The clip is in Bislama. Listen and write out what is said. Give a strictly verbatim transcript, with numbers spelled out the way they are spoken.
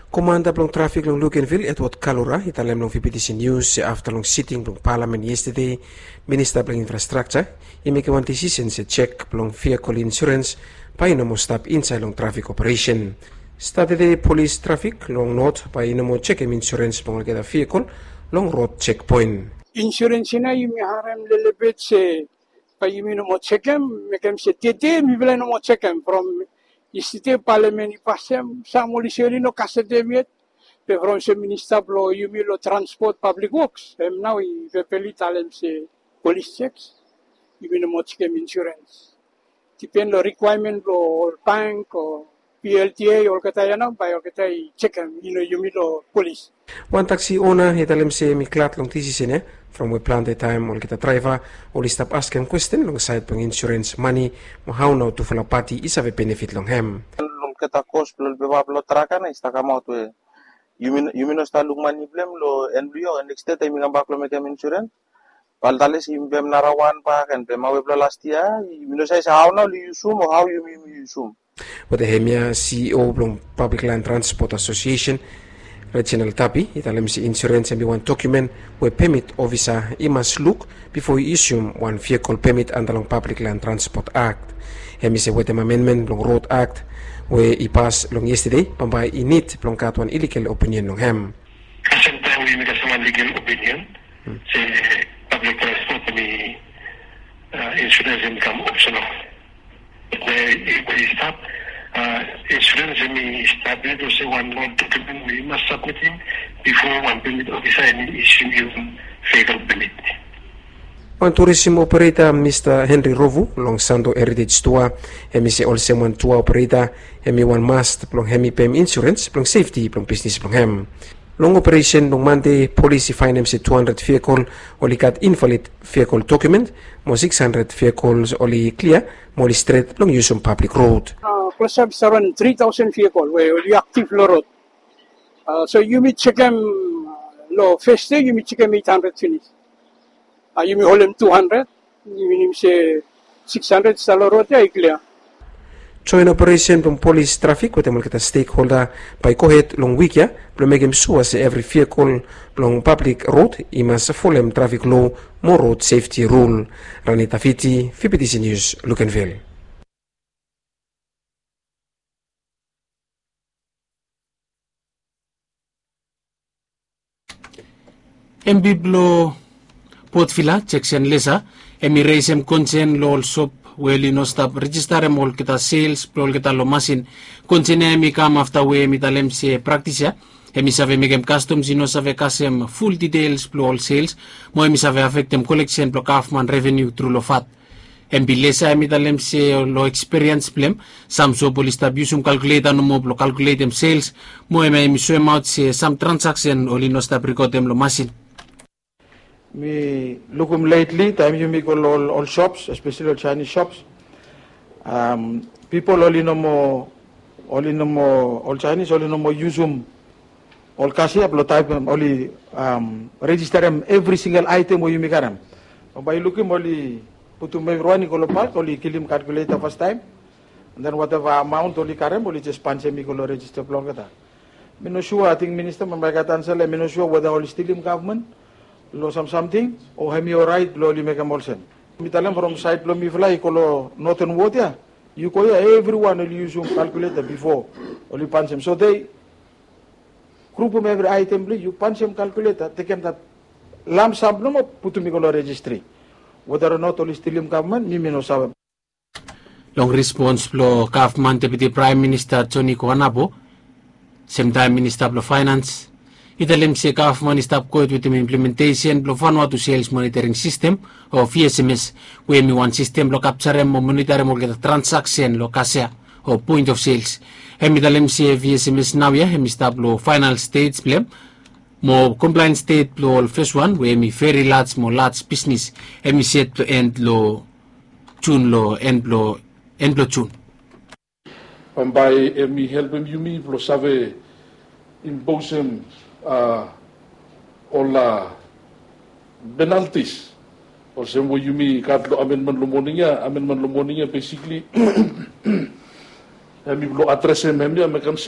Komanda blong trafik long Lukenvil, Edward Kalura, i talem long V P T C News se afta long siting blong palamen yestede, minista blong infrastrakja i mekem wan disisen se jek blong vehikel insurens bae i no moa stap insaed long trafik operesen. Satade polis trafik long Not bae i no moa jekem insurens blong olgeta vehikel long rod jekpoen. Insurens i nao yumi harem lelebet se bae yumi no moa jekem, mekem se tede mifala i no moa jekem. From yestede palamen i pasem, sam oli se oli no kasetem yet. Be from se minista blong yumi long transpot, pablik woks, hem nao i vebeli talem se polis jek, yumi no moa jekem insurens. Dipen long rikwaemen blong ol bank o P L T A, olgeta ya nao bae olgeta i jekem, i no yumi long polis. Wan taksi ona i talem se hem i glad long disisen ya, from we plante taem olgeta draeva oli stap askem kwesten long saed blong insurens mane mo hao nao tufala pati i save benefit long hem. Long olgeta kos blong ol pepa blong trak ya nao i stap kamaot we yumi, yumi no stap luk mane blong hem long en blong yia, neks de taem yumi kambak blong mekem insurens, bae oli talem se yumi pem narawan bak, en pem awe blong las yia, yumi no save se hao nao oli yusum o hao yumi, yumi yusum. Wetem hemia, C E O blong Pablik Lan Transpot Asosiesen, Reginald Tapi, i talem se insurens hem i wan dokumen we pemit ofisa i mas luk bifo i isum wan vehikel pemit anda long Pablik Lan Transpot Akt. Hem i se wetem amenmen blong Rod Akt we i pas long yestede, bambae i nid blong gat wan iligal opinion long hem. Kasem taem we yumi kasem wan ligal opinion se pablik transpot hem i, a, insurens hem i kam opsenal. Be i, be i stap, a, insurens hem i stap yet olsem wan rod dokumen we i mas sabmitim bifo wan pemit ofisa hem i isum yu wan vehikel pemit. Wan turisim opereta, Mista Henry Rovu, long Santo Heritage Tour, hem i se olsem wan tua opereta hem i wan must blong hem i pem insurens blong sefti blong bisnis blong hem. Long operesen long Mande, polis i faenem se tu handred vehikel oli gat invalid vehikel dokumen, mo sikis handred vehikel oli klia mo oli stret blong yusum pablik rod. A, klosap i stap long tri taosen vehikel we oli aktiv long rod. A, so yumi jekem, a, long fes dei yumi jekem eit handred finis. A, yumi holem tu handred, minim se sikis handred i stap long rod ya i klia. Joen operesen blong polis, trafik wetem olgeta stekholda bae i gohed long wik ya blong mekem sua se evri vehikel blong pablik rod i mas folem trafik loa mo rod sefti rul. Rani Tafiti, V P T C News, Lukenvil. M P blong Port Vila, Jackson Lesa, hem i resem konsen long ol sop we oli no stap rejistarem olgeta sels blong olgeta long masin. Konsen ya hem i kam afta we hem i talem se praktis ya hem i save mekem kastoms i no save kasem ful ditels blong ol sels, mo hem i save afektem koleksen blong gavman reveniu tru long vat. Hem i Lesa hem i talem se long ekspiriens blong hem, sam sop oli stap yusum kalkuleta nomo blong kalkuletem sels, mo hem hem i soemaot se sam transaksen oli no stap rikodem long masin. Mi lukim letli taem yumi go long ol, ol sops, espeseli ol Chinese sops, am, pipol oli no moa, oli no moa, ol Chinese oli no moa yusum ol kasia blong taem oli, am, rejistarem evri singel aetem we yumi karem. Bae yu lukim oli putum evriwan i go long pak, oli kilim kalkuleta fastaem. Den wateva amaon oli karem oli jes pansem i go long rejista blong olgeta. Mi no sua, ating minista bambae i gat ansa long hem, mi no sua weta oli stilim gavman long sam samting o hem i oraet blong oli mekem olsem. Mi talem from saed blong mifala i go long Northern Ward ya, yu go ya evriwan oli yusum kalkuleta bifo oli pansem. So dei grupum evri aetem blong yu, pansem kalkuleta, tekem dat lamsam blong hem o putum i go long rejistri. Weta o not oli stilim gavman, mi mi no save. Long respons blong gavman, Deputi Praem Minista Joni Koanapo, semtaem Minista blong Faenans, i talem se gavman i stap gohed wetem implementesen blong Vanuatu Sales Monitoring System o V S M S, we hem i wan sistem blong kapjarem o monitarem olgeta transaksen long kasia o point of sales. Hem i talem se V S M S naoia hem i stap long faenal stej blong hem, mo komplaen stej blong ol feswan we hem i veri laj mo laj bisnis hem i set blong en long Jun, long en blong, en blong Jun. Bambae hem i helpem yumi blong save imposem, a, ol, a, penaltis olsem we yumi gat long amenmen long moning ya. Amenmen long moning ya besikli hem i blong adresem hemia, mekem